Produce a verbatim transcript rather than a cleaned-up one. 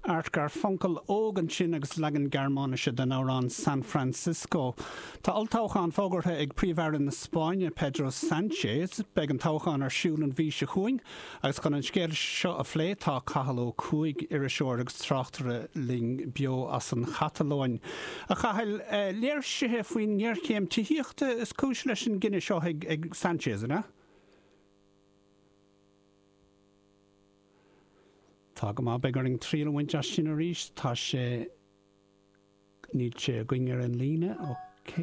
Art Garfunkel óg ansin agus leagan Gearmáinise den amhrán San Francisco. Tá olltoghchán fógartha ag Príomh-Aire na Spáinne Pedro Sánchez, beidh an toghchán ar siúl an mhí seo chugainn agus chun an scéal seo a phlé tá Cathal Ó Cuaig iriseoir agus tráchtaire linn beo as an Chatalóin. A Chathail eh, léirsithe faoin ngéarchéim tithíochta is cúis leis an gcinneadh seo ag, ag Sánchez, an ea? Tá go maith beidh orainn triail a bhaint as sin arís tá sé níl sé againn ar an líne,